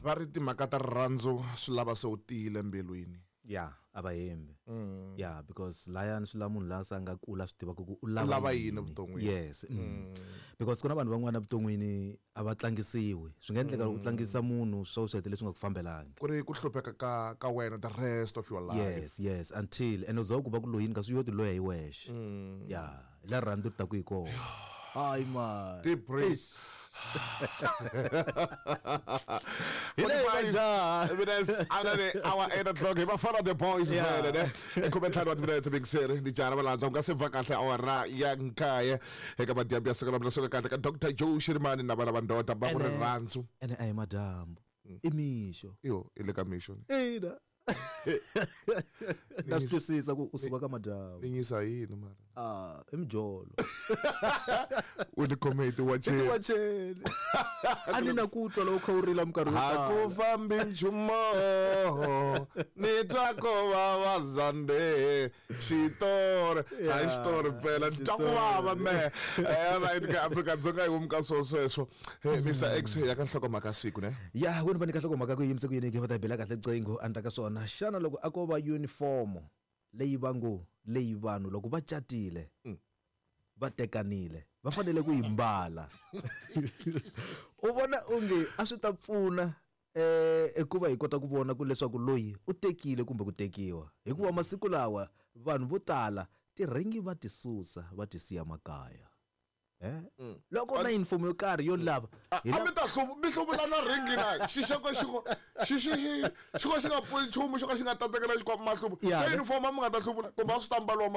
Va ri timhaka ta rirhandzu swi lava se u tiyile mbilwini. Ya, a va hembi. Ya, because layani swi lava munhu la se a nga kula swi tivaka ku u lava lava yini evuton'wini. Yes. Because ku na vanhu van'wana evuton'wini a va tlangisiwi. Swi nga endleka u tlangisa munhu swo swi hetelela swi nga ku fambelangi. Ku ri ku hlupheka ka wena the rest of your life. Yes, until and u za ku va ku loyini kasi yo ti loya hi wexe. Ya, hi la rirhandzu ri taku hi kona. Hayi man. Deep breath. Hi leyi majaha. Minutes after the hour 8 o'clock hi vafana the boys vele ne i 15 wa timinetse mingiseri ni jara valandzwa u nga se va kahle awara ya nkaye eka madyambu ya siku ra suka kahle ka Dr Joe Shirimani na vana va ndoda va ku rirhandzu. Ene a hi madyambu, i mixo. Yo, i le ka mixo. Ina. Na swi twisisa ku u suka ka madyambu. Ni nyisa yini mara? Ah, i mijolo. U ni khome hi tiwacheni. Hi tiwacheni. A ni na ku twa loko u kha u rila minkarhi yo Ha tala. ku fambi nchumu, ni twa ko vava zande. Xitori, hayi xitori phela, ni twa ku vava mehe. Right ka Afrika-Dzonga hi vomu ka swo sweswo. Hey, Mr X ya ka nhlokomhaka siku ne? Ya, wena va nyika nhlokomhaka ku yimise ku yini ke va ta yi bela kahle riqingho a ni ta ka swona. Xana loko a ko va uniform leyi va ngo leyi vanhu loko va catile va tekanile va fanele ku yi mbala, u vona onge a swi ta pfuna hikuva hi kota ku vona ku leswaku loyi u tekile kumbe ku tekiwa, hikuva masiku lawa vanhu vo tala tirhingi va ti susa va ti siya makaya. Loko na uniform yo karhi yo lava, hi A mi ta mi hluvula na ringi na xixeko xiko xi xi xi xiko xi nga pfuni nchumu xo ka xi nga tatekela xikwama mahluvu. Ya, Se ne? uniform a mi nga ta hluvula kumbe a swi ta mbaliwa.